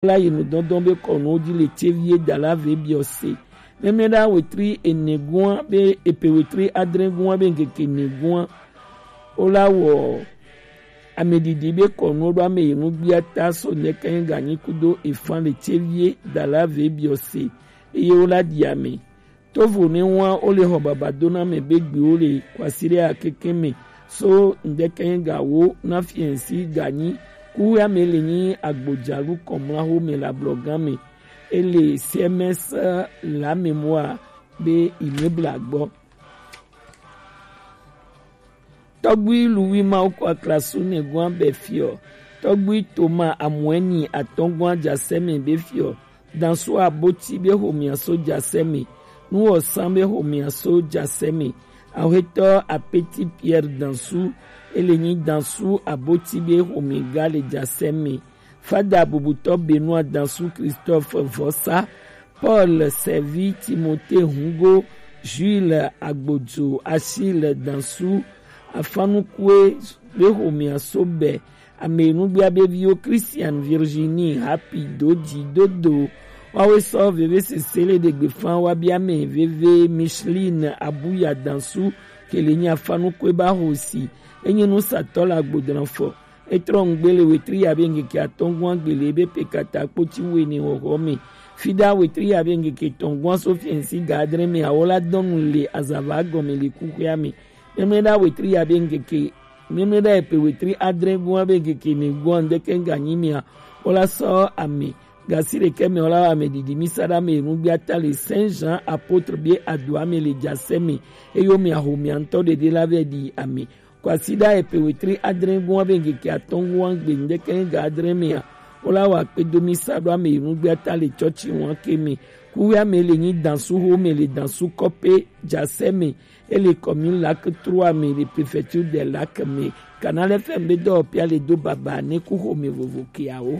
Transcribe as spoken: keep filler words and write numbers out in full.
la yi nu dɔndɔn be kɔnuwo ji le tsevi ye da la ve biɔ se. Mɛmɛ ɖa wetri ene gua be epe wetri adre gua be ŋkeke ene gua. Wo la wɔ ame ɖiɖi be kɔnuwo ɖo ame yi nu gbia ta so ŋkeke ganyi kudo efan le tsevi ye da la ve biɔ se. Eye wo la ɖi ame. Tovo ne wa wo le xɔ baba do na ame be gbiwo le kwasiɖe akeke me so ŋdeke ga wo na fiɛnsi ganyi ku ya me le nyi agbojalu kɔmla ho me la blɔ gan me ele C M S la me moa be imebla gbɔ. Tɔgbui Luwi Mawu kɔ aklasu ne gua be fiɔ. Tɔgbui Toma Amuɛni atɔngua jasɛmi be fiɔ. Dansu aboti be homia so jasɛmi. Nuwɔsan be homia so jasɛmi. Awhetɔ Apeti Pierre Dansu ele nyi dansu aboti be homi ga le jasɛmi. Fada bubutɔ Benoit Dansu, Christophe Vosa, Paul Servi, Timothée Hungo, Jules Agbodzo, Achille Dansu, Afanukue be homia so be ame nugbia be viwo Christian, Virginie, Happy, Dodi, Dodo. Wawe sɔ veve sese le ɖegbe fan wa bia me veve Micheline Abuya Dansu kele nyi Afanukue ba hosi. Enyi nusatɔ le agbodran fɔ. Etrɔ ŋgbe le wetri ya be ŋkeke atɔngua gbele be pe kata kpoti wene wɔwɔ me. Fida wetri ya be ŋkeke tɔngua so fiɛnsi ga adre me awo la dɔnu le azava gɔme le kuxea me. Mɛmɛ ɖa wetri ya be ŋkeke mɛmɛ ɖa epe wetri adre gua be ŋkeke ne gua ŋdeke ganyi mea wo la sɔ ame gasi ɖeke me wo la ame ɖiɖi mi sa ɖa me nugbia ta le Saint Jean Apôtre be adoa me le jasɛ me. Eyo me aho mia ŋtɔ ɖeɖe la vɛ ɖi ame. Kwasiɖa epe wetri adre gua be ŋkeke atɔngua gbe ŋdeke ga adre mea wo la wa kpedo mi sa ɖo ame yi nugbia ta le tsɔtsi ŋua ke me. Kuwea me le nyi dansu ho me le dansu kɔpe jasɛ me. Ele commune Lac trois me le préfecture de Lac me. Canal F M be dɔwɔpia le do baba ne ku ho me vovo keawo.